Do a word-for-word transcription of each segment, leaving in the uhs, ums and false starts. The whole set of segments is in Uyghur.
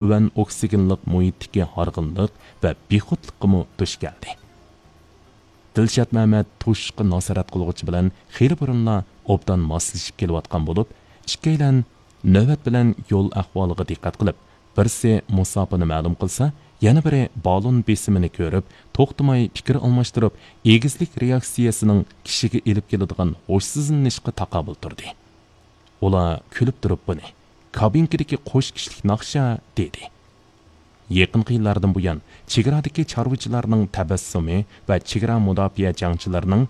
تۆۋەن ئوكسىگېنلىق مۇھىتتىكى ھارغىنلىق ۋە بىخۇدلۇققىمۇ دۇچ كەلدى. دىلشات مەمەت توشۇشقا ناسارەت قىلغۇچى بىلەن خېلى بۇرۇنلا ئوبدان ماسلىشىپ كېلىۋاتقان بولۇپ، ئىككىيلەن نۆۋەت بىلەن يول ئەھۋالىغا دىققەت قىلىپ، بىرسى مۇساپىنى مەلۇم قىلسا، يەنە بىرى بالون بېسىمىنى كۆرۈپ، توختىماي پىكىر ئالماشتۇرۇپ، ئېگىزلىك رېئاكسىيەسىنىڭ كىشىگە ئېلىپ كېلىدىغان ھوشسىزلىنىشقا تاقابىل تۇردى. ئۇلار كۈلۈپ تۇرۇپ بۇنى، «كابىنكىدىكى قوش كىشىلىك ناخشا» دېدى. يېقىنقى يىللاردىن بۇيان، چېگرادىكى چارۋىچىلارنىڭ تەبەسسۇمى ۋە چېگرا مۇداپىئە جەڭچىلىرىنىڭ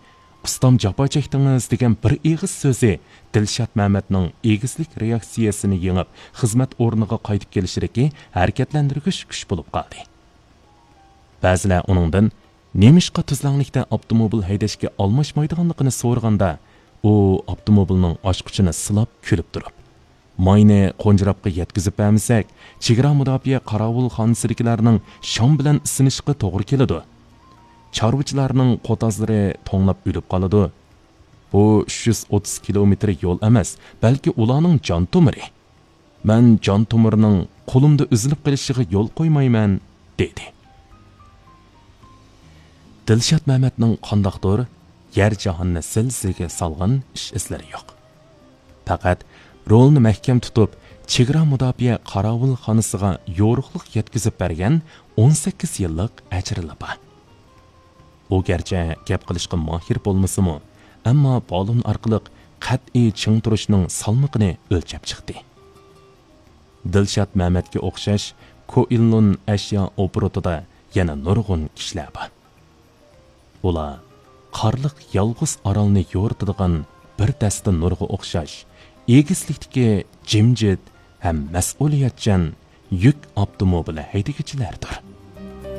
«ئۇستام، جاپا چەكتىڭىز» دېگەن بىر ئېغىز سۆزى دىلشات مەمەتنىڭ ئېگىزلىك رېئاكسىيەسىنى يېڭىپ، خىزمەت ئورنىغا قايتىپ كېلىشىدىكى ھەرىكەتلەندۈرگۈچ كۈچ بولۇپ قالدى. بەزىلەر ئۇنىڭدىن، نېمىشقا تۈزلەڭلىكتە ئاپتوموبىل ھەيدەشكە ئالماشمايدىغانلىقىنى سورىغاندا، ئۇ ئاپتوموبىلنىڭ ئاچقۇچىنى سىلاپ كۈلۈپ تۇرۇپ، «ماينى قونجىراپقا يەتكۈزۈپ بەرمىسەك، چېگرا مۇداپىئە قاراۋۇلخانىسىدىكىلەرنىڭ شام بىلەن ئىسسىنىشىغا توغرا كېلىدۇ. چارۋىچىلارنىڭ قوتازلىرى توڭلاپ ئۆلۈپ قالىدۇ. بۇ ئۈچ يۈز ئوتتۇز كىلومېتىر يول ئەمەس، بەلكى ئۇلارنىڭ جان تومۇرى. مەن جان تومۇرىنىڭ قولۇمدا ئۈزۈلۈپ قېلىشىغا يول قويمايمەن» دېدى. دىلشات مەمەتنىڭ قانداقتۇر يەر جاھاننى زىلزىلىگە سالغان ئىش ئىزلىرى يوق. پەقەت رولنى مەھكەم تۇتۇپ، چېگرا مۇداپىئە قاراۋۇلخانىسىغا يورۇقلۇق يەتكۈزۈپ بەرگەن ئون سەككىز يىللىق ئەجرىلا بار. ئۇ گەرچە گەپ قىلىشقا ماھىر بولمىسىمۇ، ئەمما بالون ئارقىلىق قەتئىي چىڭ تۇرۇشنىڭ سالمىقىنى ئۆلچەپ چىقتى. دىلشات مەمەتكە ئوخشاش كوئىنلۇن ئەشيا ئوبوروتىدا يەنە نۇرغۇن كىشىلەر بار. ئۇلار قارلىق يالغۇز ئارالنى يورۇتىدىغان بىر دەستە نۇرغا ئوخشاش، ئېگىزلىكتىكى جىمجىت ھەم مەسئۇلىيەتچان يۈك ئاپتوموبىلى ھەيدىگۈچىلەردۇر.